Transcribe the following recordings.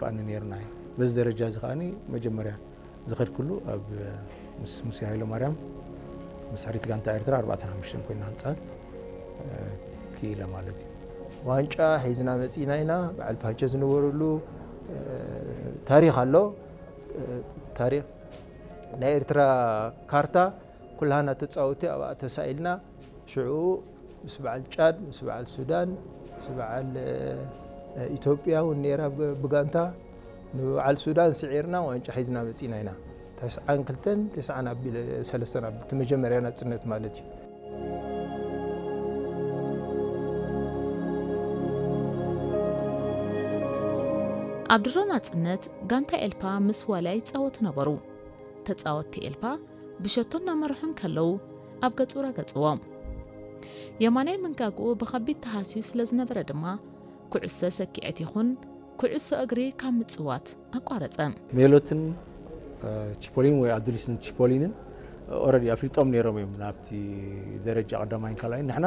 ብኣኒ ነይርና እዩ። በዚ ደረጃ እዚ ከኣኒ መጀመርያ ዝኸድክሉ ኣብ ምስ ሙሴ ሃይለማርያም ምስ ሕሪት ጋንታ ኤርትራ ኣርባዕተን ሓሙሽተን ኮይና ህንጻት ክኢለ ማለት እዩ። ዋንጫ ሒዝና መጺና ኢና። በዓል ፓቸ ዝነበሩሉ ታሪኽ ኣሎ። ታሪኽ ናይ ኤርትራ ካርታ ኩላህና ተጻወቲ ኣብኣ ተሳኢልና። ሽዑ ምስ በዓል ጫድ፣ ምስ በዓል ሱዳን፣ ምስ በዓል ኢትዮጵያ እውን ነይራ ብጋንታ። ንበዓል ሱዳን ስዒርና ዋንጫ ሒዝና መጺና ኢና። ተስዓን ክልተን ተስዓን ኣቢል ሰለስተን ኣቢል እቲ መጀመርያ ናጽነት ማለት እዩ። ኣብ ድሮ ናጽነት ጋንታ ኤልፓ ምስ ዋልያ ይጻወቱ ነበሩ። ተጻወትቲ ኤልፓ ብሸቶ እናመርሑ እንከለዉ ኣብ ገጹ ረገጽዎ። የማናይ መንጋግኡ ብኸቢድ ተሃስዩ ስለ ዝነበረ ድማ ኩዕሶ ሰኪዐት ይኹን ኩዕሶ እግሪ ካብ ምጽዋት ኣቋረጸ። ሜሎትን ቺፖሊን ወይ ኣዱሊስን ቺፖሊንን ኦረዲ ኣፍሊጦም ነይሮም እዮም ናብቲ ደረጃ ቀዳማይን ካልኣይን። ንሕና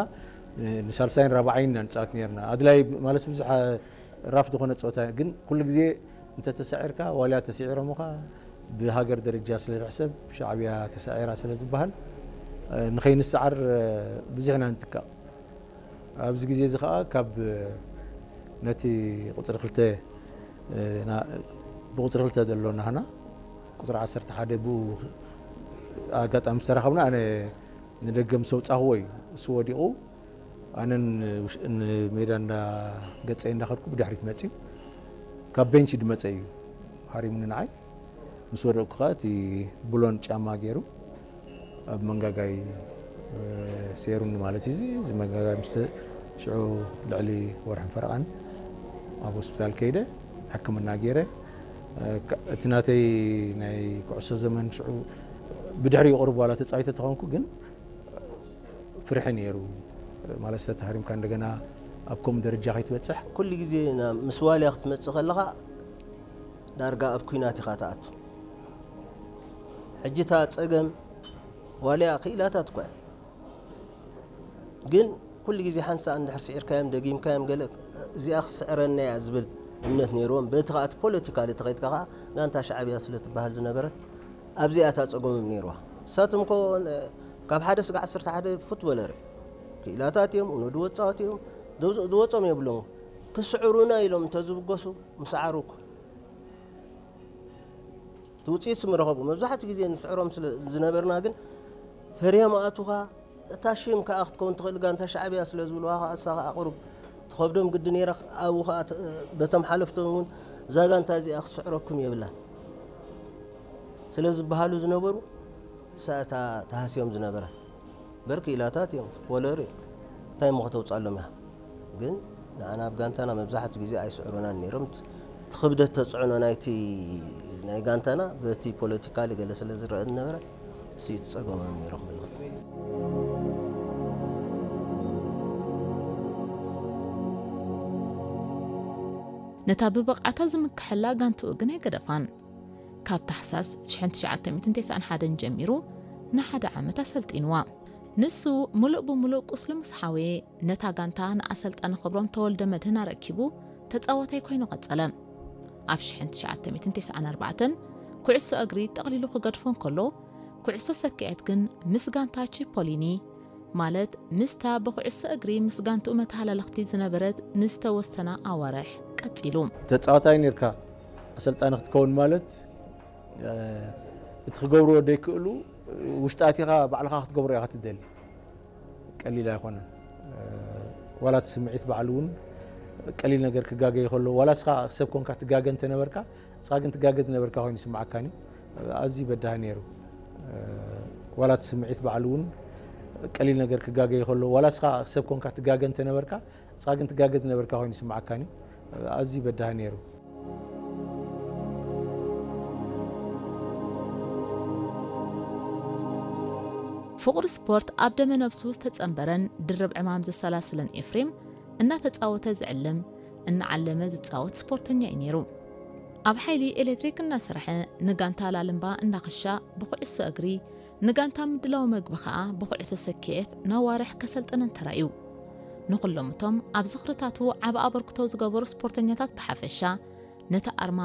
ንሳልሳይን ራብዓይን ኢና ንጻወት ነርና። ኣድላይ ማለት ብዙሕ ራፍ ዝኾነ ጸወታ ግን ኩሉ ግዜ እንተተሳዒርካ ዋልያ ተስዒሮምኻ ብሃገር ደረጃ ስለ ዝሕሰብ ሻዕብያ ተሳዒራ ስለ ዝበሃል ንኸይንሰዓር ብዙሕ ኢና ንትካእ። ኣብዚ ግዜ እዚ ከዓ ካብ ነቲ ቁፅሪ ክልተ ብቁፅሪ ክልተ ዘሎ ናህና ቁፅሪ ዓሰርተ ሓደ ብኡ ኣጋጣሚ ዝተራኸብና ኣነ ንደገ ምስ ኣውፃኽዎ እዩ እሱ ወዲቑ ኣነን ንሜዳ እንዳ ገፀ እንዳኸድኩ ብድሕሪት መፅዩ ካብ ቤንች ድመፀ እዩ ሃሪሙኒ ንዓይ ምስ ወደቕኩ ከዓ እቲ ብሎን ጫማ ገይሩ ኣብ መንጋጋይ ሴሩኒ ማለት እዩ እዚ መንጋጋይ ምስ ሽዑ ልዕሊ ወርሕን ፈረቓን ኣብ ሆስፒታል ከይደ ሕክምና ገይረ እቲ ናተይ ናይ ኩዕሶ ዘመን ሽዑ ብድሕሪ ይቕርብ ዋላ ተፃዊተ ተኾንኩ ግን ፍርሒ ነይሩ ማለት ዝተተሃሪምካ እንደገና ኣብ ከምኡ ደረጃ ከይትበፅሕ ኩሉ ግዜ ምስ ዋልያ ክትመፅእ ከለኻ ዳርጋ ኣብ ኩናት ኢኻ ትኣቱ ሕጂ እታ ፀገም ዋልያ ክኢላታት እኳ ግን ኩሉ ግዜ ሓንሳእ እንድሕር ስዒርካዮም ደጊምካዮም ገለ እዚኣ ክስዕረና እያ ዝብል እምነት ነይርዎም በቲ ከዓ እቲ ፖለቲካሊ ተኸይድካ ከዓ ጋንታ ሻዕብያ ስለ ትበሃል ዝነበረት ኣብዚኣ እታ ፀገሞም ነይርዋ ንሳቶም ኮ ካብ ሓደ ስጋ ዓሰርተ ሓደ ፉትቦለር ክኢላታት እዮም እኖ ድወፃወት እዮም ዝወፆም የብሎም ክስዕሩና ኢሎም እንተዝብገሱ ምሰዓሩ እኮ እቲ ውፅኢት ስም ረኸቡ መብዛሕትኡ ግዜ ንስዕሮም ዝነበርና ግን ፈሪሆም ኣእቱኻ እታ ሽም ከዓ ክትከውን ትኽእል ጋንታ ሻዕብያ ስለ ዝብልዋ ከዓ እሳ ከዓ ቁሩብ ትኸብዶም ግዲ ነይራ ኣብኡ ከዓ በቶም ሓለፍቶም እውን እዛ ጋንታ እዚኣ ክስዕረኩም የብላን ስለ ዝበሃሉ ዝነበሩ እሳ እታ ተሃስዮም ዝነበራ በር ክኢላታት እዮም ፉትቦለር እዮም እንታይ እሞ ከተውፃሎም እያ ግን ንዓና ኣብ ጋንታና መብዛሕትኡ ግዜ ኣይስዕሩናን ነይሮም እቲ ክብደት ተፅዕኖ ናይቲ ናይ ጋንታና በቲ ፖለቲካሊ ገለ ስለ ዝረአ ዝነበረ እሱ እዩ ትፀገሞም ነይሩ ክብል ነታ ብብቕዓታ ዝምክሐላ ጋንትኡ ግን ኣይገደፋን። ካብ ታሕሳስ ትሽዓተ ሚእትን ተስዓን ሓደን ጀሚሩ ንሓደ ዓመት ኣሰልጢንዋ። ንሱ ምሉእ ብምሉእ ቁስሉ ምስ ሓወየ ነታ ጋንታ ንኣሰልጣኒ ክብሮም ተወልደመድህን ኣረኪቡ ተጻዋታይ ኮይኑ ቀጸለ። ኣብ ሽሕን ትሽዓተ ሚእትን ተስዓን ኣርባዕተን ኩዕሶ እግሪ ጠቕሊሉ ክገድፎ እንከሎ ኩዕሶ ሰኪዐት ግን ምስ ጋንታ ቺፖሊኒ ማለት ምስታ ብኩዕሶ እግሪ ምስ ጋንትኡ መተሃላለኽቲ ዝነበረት ንዝተወሰና ኣዋርሕ ቀጺሉ። ተጻዋታይ ነርካ ኣሰልጣኒ ክትከውን ማለት እቲ ክገብርዎ ደይክእሉ ውሽጢ ኣቲኻ ባዕልኻ ክትገብሮ ኢኻ ትደሊ። ቀሊል ኣይኮነን። ዋላ እቲ ስምዒት ባዕሉ እውን ቀሊል ነገር ክጋገ ይኸሎ ዋላ እስኻ ሰብ ኮንካ ትጋገ እንተነበርካ እስኻ ግን ትጋገ ዝነበርካ ኮይኑ ይስምዓካን እዩ። ኣዝዩ በዳሂ ነይሩ። ዋላ እቲ ስምዒት ባዕሉ እውን ቀሊል ነገር ክጋገ ይኸሎ ዋላ እስኻ ሰብ ኮንካ ትጋገ እንተነበርካ እስኻ ግን ትጋገ ዝነበርካ ኮይኑ ይስምዓካን እዩ። ኣዝዩ በዳሂ ነይሩ። ፍቕሪ ስፖርት ኣብ ደመ ነብሱ ዝተጸንበረን ድርብ ዕማም ዘሰላስለን ኤፍሬም እናተጻወተ ዝዕልም እናዓለመ ዝጻወት ስፖርተኛ እዩ ነይሩ። ኣብ ሓይሊ ኤሌክትሪክ እናሰርሐ ንጋንታ ላልምባ እናኸሻ ብኩዕሶ እግሪ ንጋንታ ምድላው መግቢ ከኣ ብኩዕሶ ሰኪዔት ነዋርሕ ከሰልጥነን ተራእዩ። ንኹሎም እቶም ኣብ ዝኽርታቱ ዓቢ ኣበርክቶ ዝገበሩ ስፖርተኛታት ብሓፈሻ ነቲ ኣርማ